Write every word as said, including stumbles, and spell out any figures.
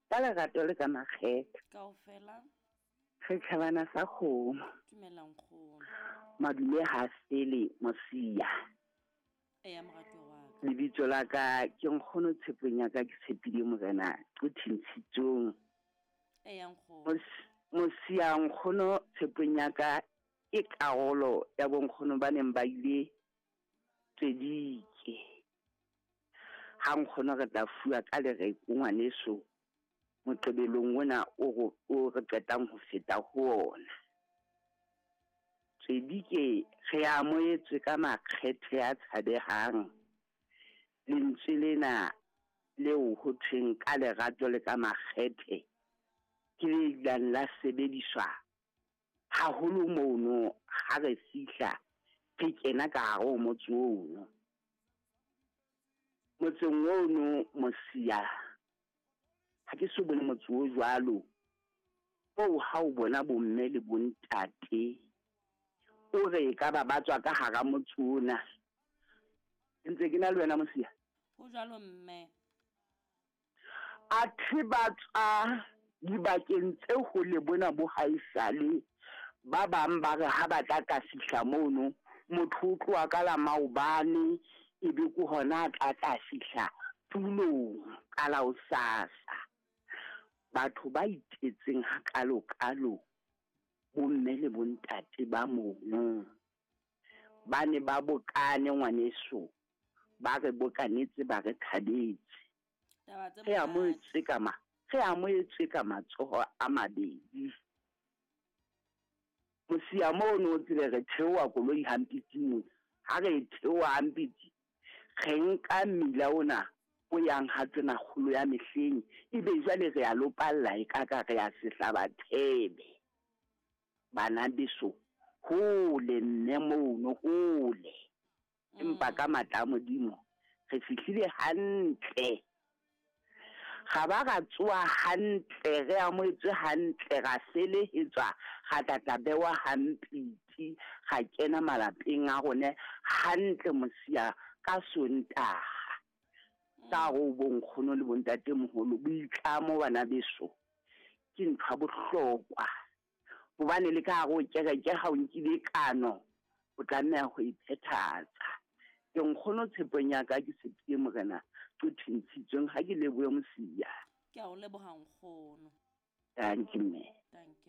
Ka lerato le ka makgethe. Kaofela. Setjhabana sa kgomo. Dumela nkgono. Madume ha sele mosia. Eya moratuwa wa ka. Lebitso la ka ke nkgono tshepong ya ka ke tshepile morena qothintshitsong. Eya nkgono. Mosia nkgono tshepong ya ka ke karolo ya bonkgono ba neng ba ile Tswedike. Ha nkgono re tla fuwa ka lereko ngwaneso moqebelong ona o o re qetang ho feta ho ona. Tswedike re amohetswe ka makgethe a tshabehang. Lentswe lena leo ho thweng ka lerato le ka makgethe ke le ileng la sebediswa haholo mono ha re fihla re kena ka hare ho motse ono. Motseng ono mosia ha ke so bone motse o jwalo oo ha o bona bomme le bontate o re ka ba ba tswa ka hara motse ona. Ntse ke na le wena mosia. Ho jwalo mme. Athe ba tswa dibakeng tse hole bona bo haesale ba bang ba re ha ba tla ka fihla mono motho o tloha ka la maobane ebe ke hona a tla tla fihla tulong ka la hosasa. Batho ba itetseng hakalo-kalo bomme le bontate ba mono ba ne ba bokane ngwaneso, ba re bokanetse ba re thabetse. Taba tse Re amohetswe ka ma re amohetswe ka matsoho a mabedi. Mosia mono o tsebe re theoha koloi hampitsi mona. Ha re theoha hampitsi re nka mmila ona o yang ha tsena kgolo ya mehleng ebe jwale re a lopalla e ka ka re a sehlaba thebe. Bana beso hole mme mono hole. Empa ka matla a Modimo re fihlile hantle. Ga ba ra tsoha hantle re amohetswe hantle ra felehetswa ra tla tla bewa hampitsi ra kena malapeng a rona hantle mosia ka Sontaha. Ka hare ho bonkgono le bontatemoholo boitlamo bana beso ke ntho ya bohlokwa. Hobane le ka hare ho kereke ha o nkile kano o tlameha ho e phethahatsa. Ke nkgono tshepong ya ka ke tshepile morena qothintshitsweng ha ke lebohe mosia. Ke a o leboha nkgono. Thank you mme. Thank you.